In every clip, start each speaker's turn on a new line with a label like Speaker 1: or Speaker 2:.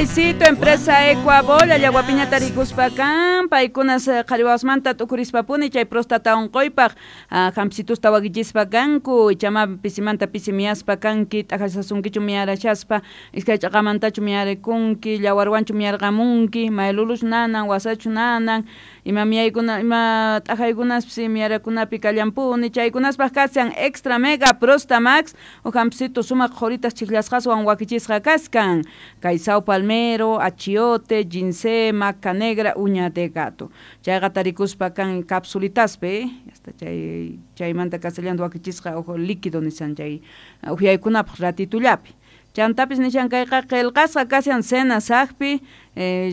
Speaker 1: Kaysito empresa Ecuabol Allahuapiñata rikuspa kan paykunas qhariwawasmanta t'ukurispapuni chay próstata unquypaq hampicitusta wakichispa kanku ichama pisimanta pisi miyaspa kanki t'ajasasunkichu miyarashaspa iskay ch'aqamantachu miyarikunki llawarwanchu miyarqamunki mayluluchu nanan wasachu nanan ima miyaykuna ima t'ajaykunaspis miyarakunapi kallanpuni chaykunaspaq kashan extra mega prosta max uj hampicito sumaq qhuritas chijllasqaswan wakichisqa kaskan kay sao palmero, achiote, ginseng, maca negra, uña de gato. Chayqa tarikuspa kan capsulitaspi, hasta chay chaymanta kasallanta wakichisqa uj líquido nishan chay uhyaykunapaq ratitullapi. Chantapis nishan kayqa qillqasqa kashan Senasaqpi,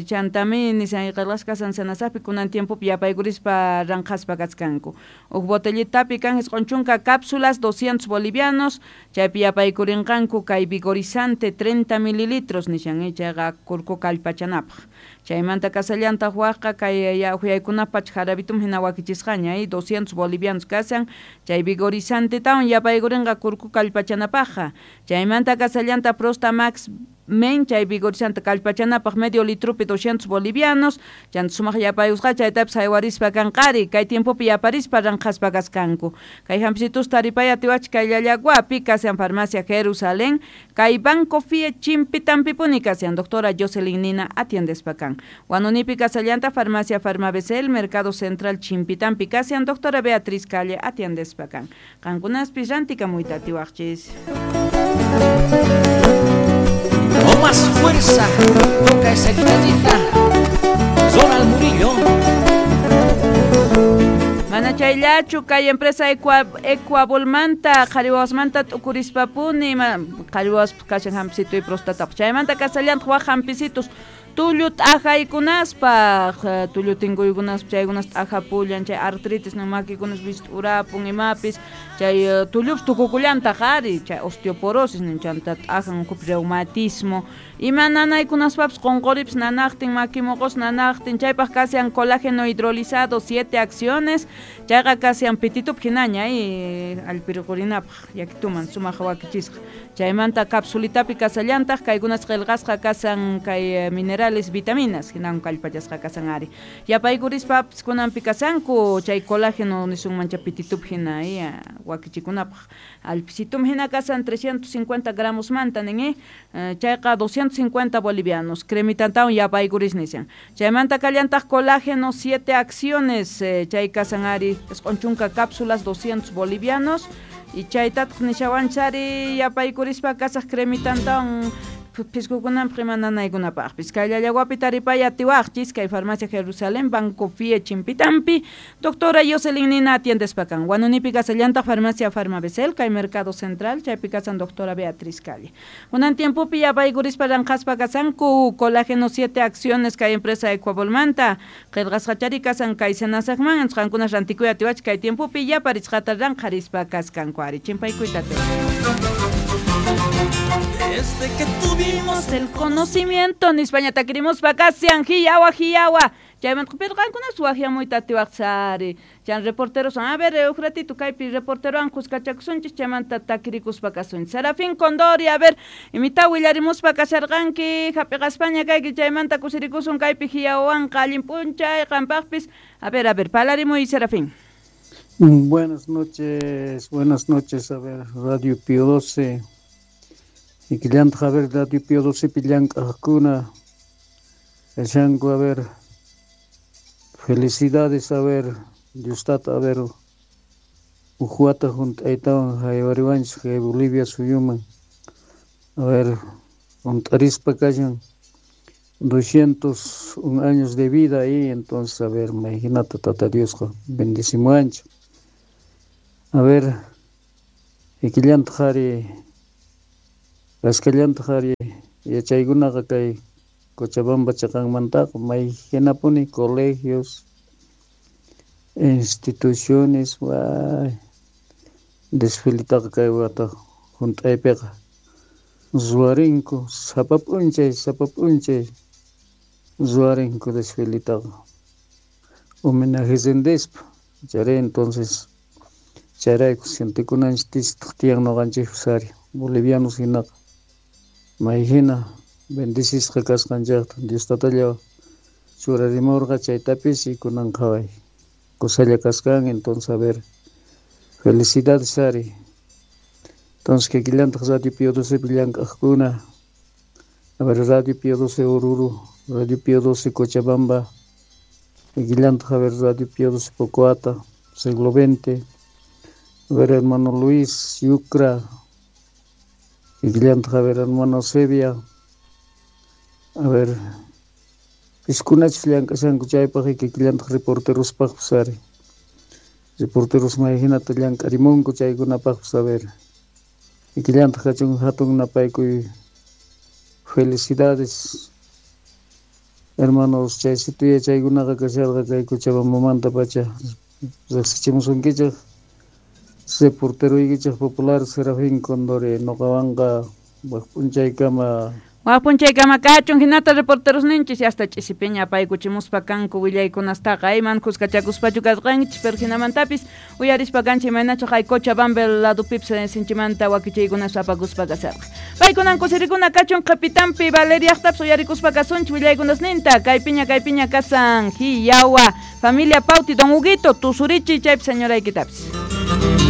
Speaker 1: chantami nishan qillqasqa kashan Senasaqpi kunan tiempopi yapaykurispa ranqhaspa kachkanku. Uj botellitapi kan 90 cápsulas 200 bolivianos, chaypi yapaykurinqanku kay vigorizante 30 mililitros nishan chayqa kurku kallpachanapaq. Chaymanta kasallantaq waqqa kay uhyaykunapaq jarabitum hina wakichisqaña 200 bolivianos kashan, chay vigorizantetawan yapaykurinqa kurku kallpachanapaqqa. Chaymanta kasallanta Prosta Max Men chay vigorizante kallpachanapaq medio litrupi 200 bolivianos, chanta sumaq yapayusqa chaytapis haywarispa kanqari, kay tiempopi yaparispa ranqhaspa kaskanku. Kay hampicitus taripay atiwachik kay Llallaguapi kashan farmacia Jerusalén, kay Banco Fie Chimpitampipuni kashan doctora Jocelyn Nina atiendespa kan. Huanunipi kasallanta farmacia Farmabecel, Mercado Central Chimpitampi kashan doctora Beatriz Calle atiendespa kan. Qankunaspis rantikamuyta atiwaqchis.
Speaker 2: Con más fuerza toca esa guitarrita, Zonal Murillo.
Speaker 1: Mana chayllachu kay empresa Ecuabolmanta qhariwawasmanta t'ukurispapuni qhariwawaspas kashan hampicito y prostatapaq chaymanta kasallantaq waq hampicitos tullu t'ajaykunaspaq tullu tinkuykunaspa chaykunas t'ajapullan chay artritis nin makikunas wist'urapun imapis chay tullupis tukukullantaq ari chay osteoporosis nin chanta t'ajan ukhupi reumatismo ima nanaykunaspapis qunquripis nanaqtin maki muqus nanaqtin chaypaq kashan colágeno hidrolizado 7 acciones chayqa kashan pititup hinaña allpirqurinapaq yakituman sumaq wakichisqa chaymanta capsulitapi kasallantaq kaykunas qillqasqa kashan kay minerales vitaminas hinan kallpachasqa kashan ari yapaykurispapas kunanpi kashanku chay colágeno nisunman chay pititup hina wakichikunapaq allpisitum hina kashan 350 gramos manta nin chayqa 250 bolivianos cremitantawan yapaykuris nishan chaymanta kallantaq colágeno 7 acciones chay kashan ari 90 cápsulas 200 bolivianos y chaytataq nishawanchari yapaykurispa kasaq cremitantawan piskukunanpaq ima nanaykunapaqpis kay Llallaguapi taripay atiwaqchis kay farmacia Jerusalén Banco Fie Chimpitampi doctora Jocelyn Nina atiendespa kan Huanunipi kasallantaq farmacia Farmabecel kay Mercado Central chaypi kasan doctora Beatriz Calle kunan tiempopi yapaykurispa ranqhaspa kasanku colágeno 7 acciones kay empresa Ecuabolmanta qillqasqachari kasan kay Senasaqman qankunas rantikuy atiwachik kay tiempopi yaparisqata ranqharispa kaskanku ari chimpaykuyta.
Speaker 2: Desde que tuvimos
Speaker 1: el conocimiento en España takirimos vacacian hiyawa hiyawa chaymanta pero qankunas waqyamuyta atiwaqsari chan reporteros a ver uj ratito kaypi reporterowan kuskachakusunchis chaymanta takirikuspa kasunchis Serafín Condori a ver imita willarimuspa kasharqanki hap'iqaspaña kayki chaymanta kusirikusun kaypi hiyawawanqa allin p'unchay qampaqpis a ver palarimuy Serafín.
Speaker 3: Buenas noches, a ver, Radio Pío 12. Y que a ver, Radio Pío 12 pillank'ajkuna, kashanku, a ver, felicidades, a ver, Dios tata, a ver, uj wata junt'aytawan haywariwanchis kay Bolivia suyuman, a ver, junt'arispa kashan 201 años de vida ahí, entonces, a ver, imagínate, Tata Diosqa bendecimuwanchik. A ver, ikillantaq ari kasqallantaq ari yachaykunaqa kay Cochabamba chaqanmantaqa may hinapuni colegios, instituciones, way desfilitaqa kay wata junt'aypiqa ruwarinku sapa p'unchay ruwarinku desfilitaqa homenaje rindispa chayri entonces chayrayku sientekunanchis tistaq tiyan ñuqanchikpas ari bolivianos hinaqa may hina Bendecisqa kasqanchejta Dios tatalla churarimurqa chaytapis y kunan qhaway kusalla kaskan, entonces a ver, felicidades ari. Entonces kikillantaq Radio Pío XII llank'aqkuna, a ver, Radio Pío XII Oruro, Radio Pío XII Cochabamba, kikillantaq a ver, Radio Pío XII Pocoata, siglo XX, a ver, hermano Luis Yucra, kikillantaq a ver, hermano Sevilla, a ver, piskunachus llank'ashanku chaypaq kikillantaq reporterospaqpis ari. Reporteros may hinata llank'arimunku chaykunapaqpis a ver. Kikillantaq kachun hatun napaykuy. Felicidades, hermanos, chay situya chaykunaqa kasharqa kay Cochabambamanta pacha riqsichimusunkichik reporteroykichik popular Serafín Condori noqawanqa wak p'unchaykama.
Speaker 1: Wak p'unchaykama kachun hinata reporteros ninchis hasta ch'isipiña apaykuchimuspa kanku willaykunastaqa ayman kuskachakuspachu kasqanchis pero hinamantapis uyarispa kanchik imaynachu hay Cochabamba ladupipis sinchimanta wakichiykunas apakuspa kasarqa. Paykunan kusirikuna kachun qhipitanpi Valeriaqtapis uyarikuspa kasunchik willaykunasninta kaypiña kaypiña kasan hiyawa familia Pauti don Huguito tusurichi chaypi señoraykitapis.